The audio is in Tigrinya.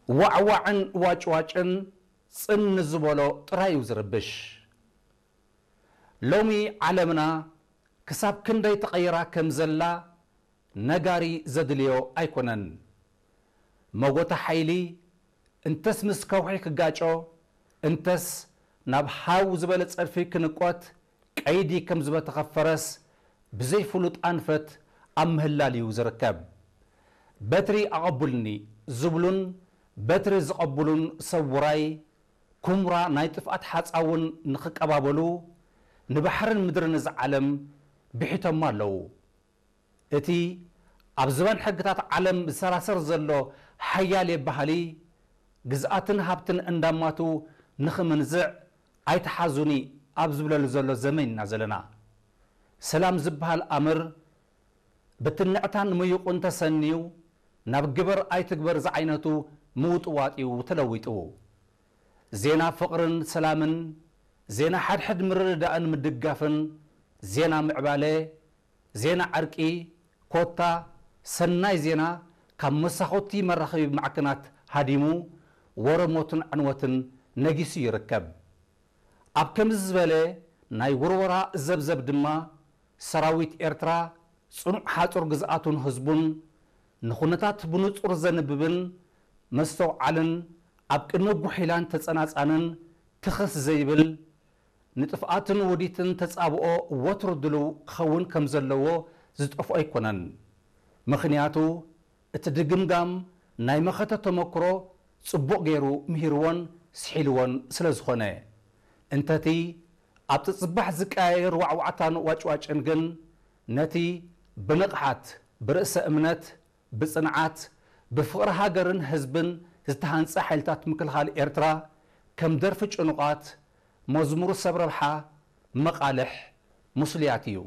ዋዕዋዕን ዋጭዋጭን ጽን ዝበሎ ጥራይ እዩ ዝርብሽ። ሎሚ ዓለምና ክሳብ ክንደይ ተቐይራ ከም ዘላ ነጋሪ ዘድልዮ ኣይኮነን። መጎተ ሓይሊ እንተስ ምስ ከውሒ ክጋጮ፣ እንተስ ናብ ሃው ዝበለ ጸድፊ ክንቆት ቀይዲ ከም ዝበተኸ ፈረስ ብዘይ ፍሉጥ ኣንፈት ኣብ ምህላል እዩ ዝርከብ። በትሪ ኣቐቡልኒ ዝብሉን በትሪ ዝቐብሉን ሰብ ውራይ ኩምራ ናይ ጥፍኣት ሓጻውን ንኽቀባበሉ ንባሕርን ምድርን እዚ ዓለም ብሒቶሞ ኣለዉ። እቲ ኣብ ዝባን ሕግታት ዓለም ዝሰራሰር ዘሎ ሓያሌ ባህሊ ግዝኣትን ሃብትን እንዳማቱ ንኽምንዝዕ ኣይትሓዙኒ ኣብ ዝብለሉ ዘሎ ዘመን ኢና ዘለና። ሰላም ዝበሃል ኣምር ብትንዕታን ምዩቕን ተሰንዩ ናብ ግበር ኣይትግበር ዝዓይነቱ ምውጥዋጥ እዩ ተለዊጡ። ዜና ፍቕርን ሰላምን፣ ዜና ሓድሕድ ምርድዳእን ምድጋፍን፣ ዜና ምዕባለ፣ ዜና ዕርቂ፣ ኮታ ሰናይ ዜና ካብ መሳኹቲ መራኸቢ ማዕከናት ሃዲሙ ወረ ሞትን ዕንወትን ነጊሱ ይርከብ። ኣብ ከምዚ ዝበለ ናይ ውርወራ ዘብዘብ ድማ ሰራዊት ኤርትራ ጽኑዕ ሓጹር ግዝኣቱን ህዝቡን ንኹነታት ብንጹር ዘንብብን መስተውዓልን ኣብ ቅድሚ ጉሒላን ተጸናጻንን ትኽስ ዘይብል ንጥፍኣትን ውዲትን ተጻብኦ ወትሩ ድሉው ክኸውን ከም ዘለዎ ዝጠፍኦ ኣይኮነን። ምኽንያቱ እቲ ድግምጋም ናይ መኸተ ተመክሮ ጽቡቕ ገይሩ ምሂርዎን ስሒልዎን ስለ ዝኾነ። እንተቲ ኣብ ጽጽባሕ ዝቀያየር ዋዕዋዕታን ዋጭዋጭን ግን ነቲ ብንቕሓት፣ ብርእሰ እምነት፣ ብጽንዓት፣ ብፍቕሪ ሃገርን ህዝብን ዝተሃንጸ ሓይልታት ምክልኻል ኤርትራ ከም ደርፊ ጭኑቓት፣ መዝሙር ሰብ ረብሓ፣ መቓልሕ፣ ምስሉያት እዩ።